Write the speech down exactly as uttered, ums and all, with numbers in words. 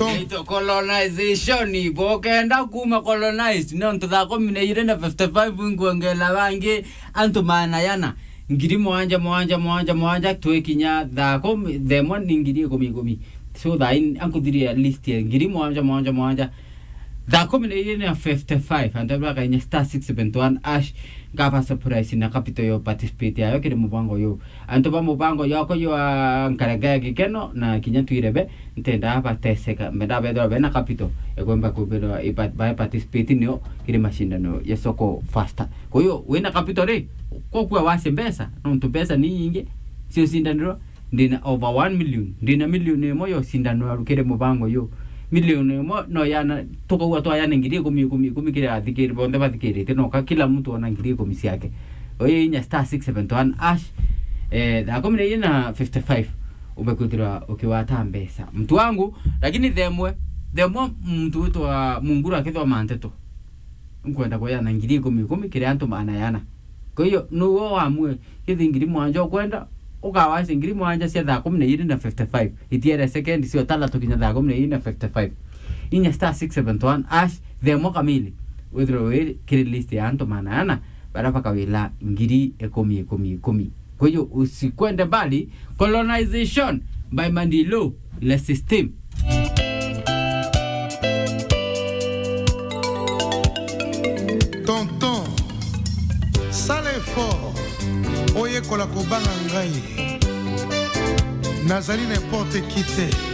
Naitwa colonization. Bokenda kuma colonized, nontu thaa kumi na iri na fifty-five inkwongela bangi antu maana yana. Ngiri mwanja, mwanja, mwanja, mwanja, twikinya thaa kumi, themwa ni ngiri ikumi, ikumi. So, thaa in, ankuthiria list ya ngiri mwanja, mwanja, mwanja. Thaa kumi na iri na fifty-five, antu bakainya star six seven one hash, ngaba surprise na capital yo participate yayo kiri mubango yo. Antu ba mubango yako yo, a, nkarega ya gikeno na kinya twirebe, ntenda bateseka, mbenda bethwa bena capital, ekwemba kubirwa ipa-, ba participate nio kiri mashindano ya Soko Fasta. Kwa hiyo, wina capital ri, kokua wase mbeca, nontu mbeca ni nyingi, cio cindanirwa, ndina over one million, ndina milioni imwe yo cindanirwa kiri mubango yo. Milioni imwe no yana, tukaua twayana ngiri ikumi, ikumi, ikumi kiri athikiri, bonthe bathikirite, no ka kila mtu ona ngiri ikumi ciake. Oye inya star six seven one hash, eh, thaa kumi na iri na fifty-five, ube kwithirwa ukiwata mbeca. Mtu wangu, lakini themwe, themwe muntu witwa Munguru akithoma nteto. Nkwenda kuyana ngiri ikumi, ikumi kiri antu maana yana. Kwa hiyo, nuwe wamue, kithi ngiri mwanja ukwenda, ukawase ngiri mwanja cia thaa kumi na iri na fifty-five. Itiere second cio talatu kinya thaa kumi na iri na fifty-five. Inya star six seven one hash, themwa kamili. Withirwe wi kiri list ya antu maana yana, bara bakawila ngiri ikumi, ikumi, ikumi. Kwa hiyo, usikwende mbali, colonization by Mandilo, le system. Tonton, sala effort, oyekola kobanga ngai. Nazali n'importe qui te.